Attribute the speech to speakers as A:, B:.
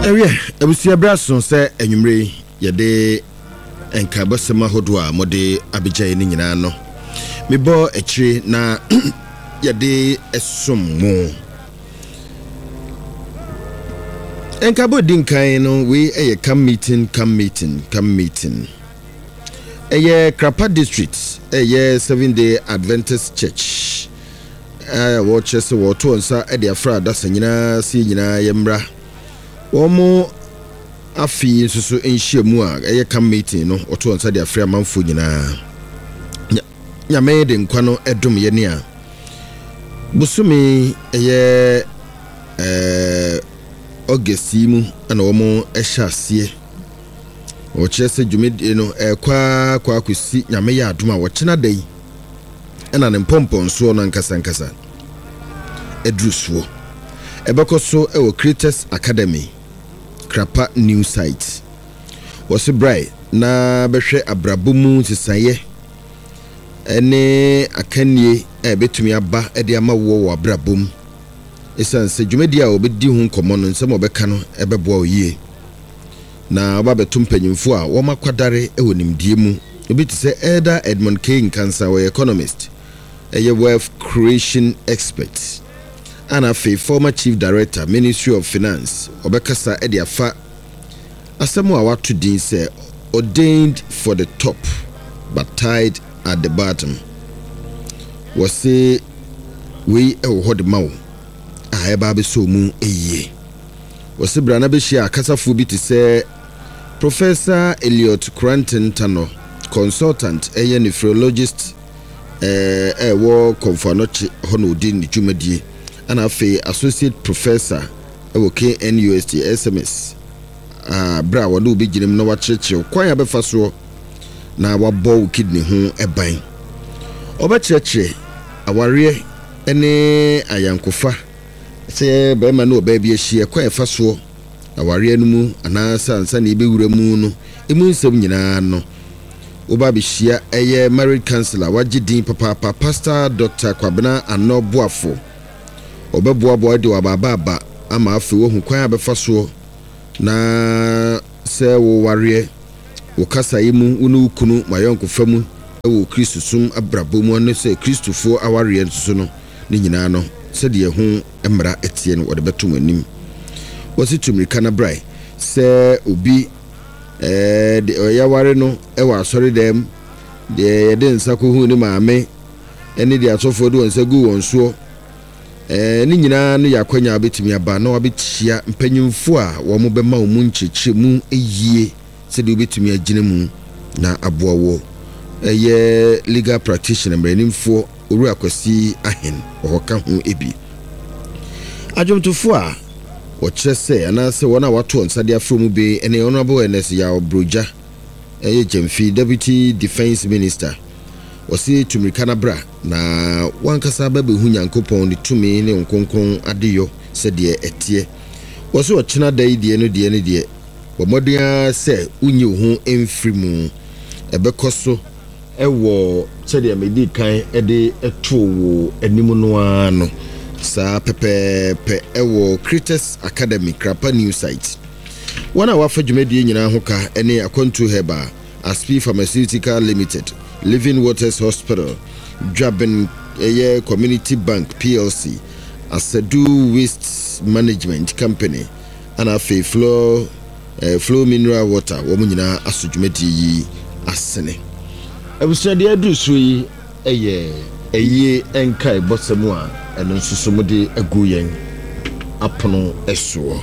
A: Ɛwiɛ, abusua berɛ aso sɛ anwummere yi yɛde nkaebɔsɛm ahodoɔ a mode abɛgya yɛn no nyinaa no mebɔ akyire na yɛde som mo. Nkaebɔ di nkan no, wei yɛ camp meeting, camp meeting, camp meeting. Ɛyɛ Krapa District, ɛyɛ Seventh Day Adventist Church. A wɔkyerɛ sɛ wɔreto wɔn nsa de afra adasa nyinaa sɛ yɛn nyinaa yɛmmra wɔn afe yi nso so nhyiamu a ɛyɛ camp meeting no. Wɔto wɔn nsa de afrɛ amanfoɔ nyinaa. Nyame de nkwa no dom yɛne a bosome ɛyɛ ɛɛ August yi mu na wɔn hyɛ aseɛ. Wɔkyerɛ sɛ dwumadie no ɛrekɔ ara kɔ akɔsi Nyame yɛ adom a wɔkyena da yi ɛna ne mpɔmpɔnsoɔ no ankasa ankasa aduru soɔ. Ɛbɛkɔ so wɔ Creators Academy, Krapa New Site. Wɔse brae na bɛhwɛ abrabɔ mu nsesaeɛ ne akannie a ɛbɛtumi aba de ama woɔ wɔ abrabɔ mu. Ɛsiane sɛ dwumadie a wɔbɛdi ho nkɔmmɔ no, nsɛm a wɔbɛka no bɛboa wo yie. Na wɔba abɛto mpanyimfo a wɔakwadare wɔ nimdeɛ mu. Obi te sɛ Elder Edmund K. Nkansah, ɔyɛ economist, ɛyɛ wealth creation expert, a na afei former Chief Director, Ministry of Finance. Ɔbɛkasa de afa asɛm a wɔato din sɛ Ordained for the Top but Tied at the Bottom. Wɔse wei wɔ hɔ de ma wo a ɛba abɛsɔ wo mu yie. Wɔse bra na bɛhyia akasafoɔ bi te sɛ Professor Elliot Koranteng Tanor, consultant ɛyɛ nephrologist ɛwɔ Komfo Anokye hɔ na ɔdi ne dwumadie, ɛna afei Associate Professor ɛwɔ KNUST SMS, berɛ a wɔne wo bɛgyina mu na wakyerɛkyerɛ wo kwan a bɛfa soɔ na wabɔ wo kidney ho ban. Ɔbɛkyerɛkyerɛ awareɛ ne ayankofa Sɛ barima ne ɔbaa bi ahyia, kwan a ɛfa soɔ awareɛ no mu anaasɛ ansa na yɛbɛwura mu no, ɛmu nsɛm nyinaa no, woba abɛhyia ɛyɛ marriage counsellor wagye din papaapa, Pastor Doctor Kwabena Anor Boafo. Ɔbɛboaboa de w'abaaba aba ama afei woahu kwan a bɛfa soɔ na sɛ wowareɛ, wo kasaeɛ mu, wo ne wo kunu, mo ayɔnkofa mu wɔ Kristosom abrabɔ mu ne sɛ Kristofoɔ awareɛ nso so no, Ne nyinaa no, sɛdeɛ ɛho mmara teɛ no, wɔde bɛto mo anim. Wɔse tu mmirika na brae sɛ obi de yɛaware no wɔ asɔredɛm, deɛ yɛde nsa kɔhuu ne maame, ne deɛ asɔfoɔ de wɔn nsa guu wɔn soɔ. Ne nyinaa no yɛ akwanya a wobɛtumi aba na wabɛhyia mpanyimfoɔ a wɔbɛma wo mu nkyerɛkyerɛmu yie sɛdeɛ wobɛtumi agyina mu na aboa wo. Ɛyɛ legal practitioner, mmaranimfoɔ Owura Kwasi Ahen wɔ hɔ ka ho bi. Adwomtofo a wɔkyerɛ sɛ anaasɛ wɔn a wɔato wɔn nsa de afrɛ mu bi ne Honourable Ernest Yaw Brogya, ɛyɛ Gyamfi, Deputy Defence Minister. Wɔse tu mmirika na bra na w'ankasa bɛbɛhu Nyankopɔn ne tumi ne Honhom Kronkron adeyɔ sɛdeɛ ɛteɛ. Wɔse ɔkyena da yi deɛ no deɛ no deɛ, bɔ mmɔden ara sɛ wonyi wo ho mfiri mu. Ɛbɛkɔ so. Wɔ sɛdeɛ medii kan de too wo anim no ara no, saa pɛpɛɛpɛ wɔ Creators Academy, Krapa New Site. Wɔn a wɔafa dwumadie nyinaa ho ka ne Akwantuo Herbal, Aspi Pharmaceutical Limited, Living Waters Hospital, Dwaben ɛyɛ Community Bank PLC, Asadu Waste Management Company, ɛna afei Flor Flow Mineral Water, wɔn nyinaa aso dwumadie yi asene. Abusua deɛ aduru soɔ yi yɛ ayie nkaebɔsɛm a ɛno nso so mode agu yɛn apono soɔ.